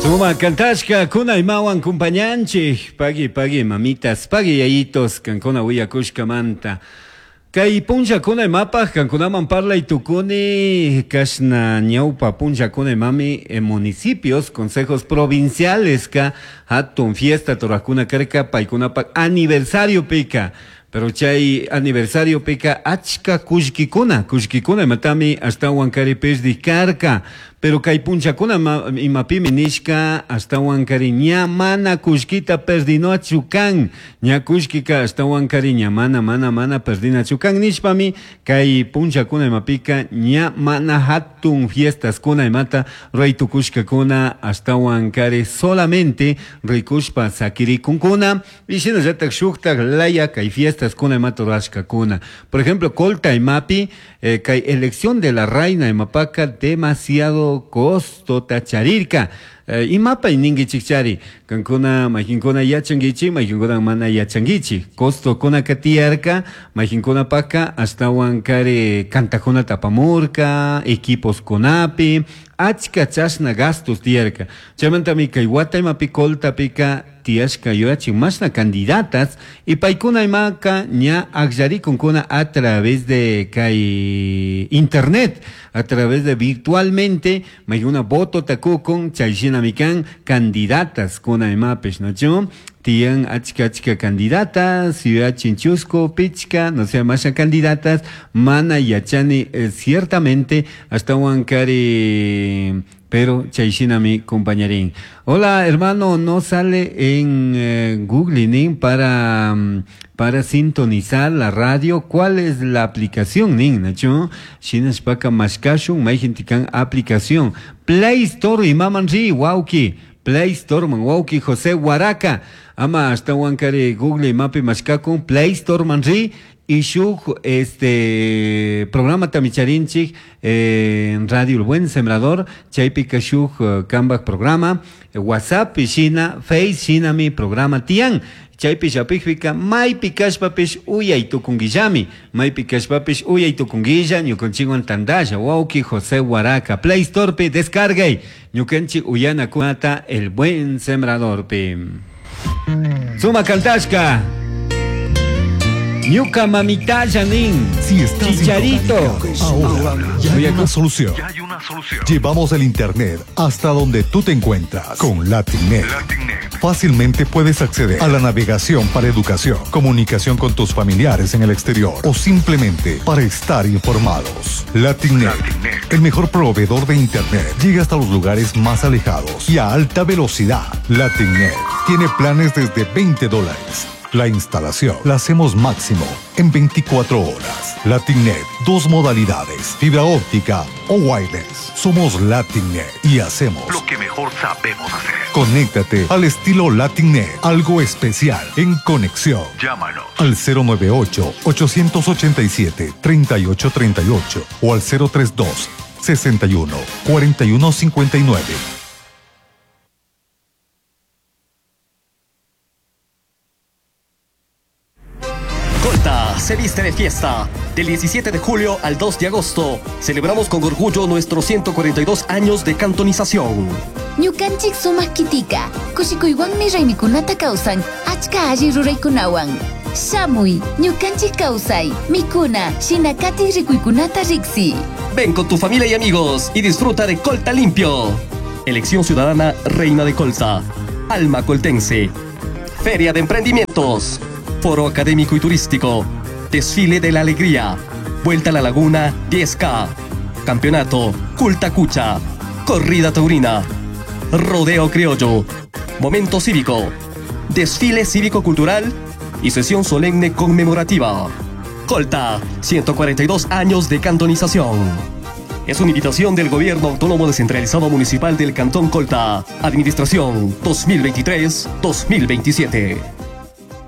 Suma kantashka kuna imawan kumpañanchik pagui pagui mamitas pagui yayitos kankuna willakushkamanta. Kay punllakuna imapaj kankunaman parlay tukuni kashna ñawpa punllakuna imami municipios, consejos provinciales ka hatun fiesta turakuna karka paykunapak aniversariopika. Pero chay aniversariopika achka kullkikuna, kullkikuna imatami ashtawan kari pirdik karka. Pero kay punllakuna imapimi nishka ashtawan kari ña mana kullkita perdinachu kan. Ña kullkika ashtawan kari ña mana mana mana perdinachu kan nishpami kay punllakuna imapika ña mana hatun fiestaskuna imata ruray tukushkakuna ashtawan kari solamente rikushpa sakirikunkuna. Y shinallatak shuktak laya kay fiestaskuna imata rurashkakuna. Por ejemplo, Colta imapi kay elección de la reina imapaka demasiado costota charirka. Imapay ninkichik chari kankuna maykinkuna yachankichik maykinkuna mana yachankichik costokuna tiyarka maykinkunapaka ashtawan kari kantakunata apamurka equiposkunapi achka chashna gastos tiyarka. Chaymantami kay wata imapi Coltapika tiyashka yuyachin mashna candidatas y paykuna imaka ña akllarikunkuna a través de kay internet, a través de virtualmente maykuna voto takukun chay shinami kan candidatas kuna imapish, ¿no? Tiyan achka achka candidatas, yuyachin chusku, pichka, no sé, masha candidatas, mana yachani ciertamente ashtawan kari, pero chay shinami compañerín. Hola hermano, no sale en Google nin para sintonizar la radio. ¿Cuál es la aplicación nin, nacho? Shinashpaka mashkashun mayjintikan aplicación Play Store imaman ri wauki. Play Store man wauki José Huaraca. Ama ashtawan kari Google imapi mashkakun Play Store man ri. Y shuk este programa tamicharinchik en Radio El Buen Sembrador, chaypika shuk kambak programa, WhatsApp shina, Face shinami programa tiyan. Chaypi shapikpika maypi kashpapish uyay tukunkillami, maypi kashpapish uyay tukunkilla, ñukanchikwan tandalla, wawki José Huaraca, Play Storepi descargay, ñukanchik uyanakunata El Buen Sembradorpi. Suma kantashka. Ñuka mamitalla nin. Si estás Chicharito. Ahora ya hay una solución. Ya hay una solución. Llevamos el internet hasta donde tú te encuentras con LatinNet. LatinNet. Fácilmente puedes acceder a la navegación para educación, comunicación con tus familiares en el exterior o simplemente para estar informados. LatinNet, LatinNet. el mejor proveedor de internet, llega hasta los lugares más alejados y a alta velocidad. LatinNet tiene planes desde veinte dólares. La instalación la hacemos máximo en 24 horas. LatinNet, dos modalidades, fibra óptica o wireless. Somos LatinNet y hacemos lo que mejor sabemos hacer. Conéctate al estilo LatinNet, algo especial en conexión. Llámanos al cero nueve ocho, ochocientos ochenta y siete, treinta y ocho treinta y ocho o al cero tres dos, sesenta y uno, cuarenta y uno cincuenta y nueve. Colta se viste de fiesta. Del 17 de julio al 2 de agosto, celebramos con orgullo nuestros 142 años de cantonización. Ñukanchik sumak kitika, kushikuywanmi raymikunata kawsan, achka alli ruraykunawan. Shamuy, ñukanchik kawsay, mikuna, shinakati rikuykunata riksi. Ven con tu familia y amigos y disfruta de Colta Limpio. Elección Ciudadana Reina de Colta, Alma Coltense. Feria de Emprendimientos, Foro Académico y Turístico, Desfile de la Alegría, Vuelta a la Laguna 10K, Campeonato Culta Cucha, Corrida Taurina, Rodeo Criollo, Momento Cívico, Desfile Cívico Cultural y Sesión Solemne Conmemorativa. Colta, 142 años de cantonización. Es una invitación del Gobierno Autónomo Descentralizado Municipal del Cantón Colta. Administración 2023-2027.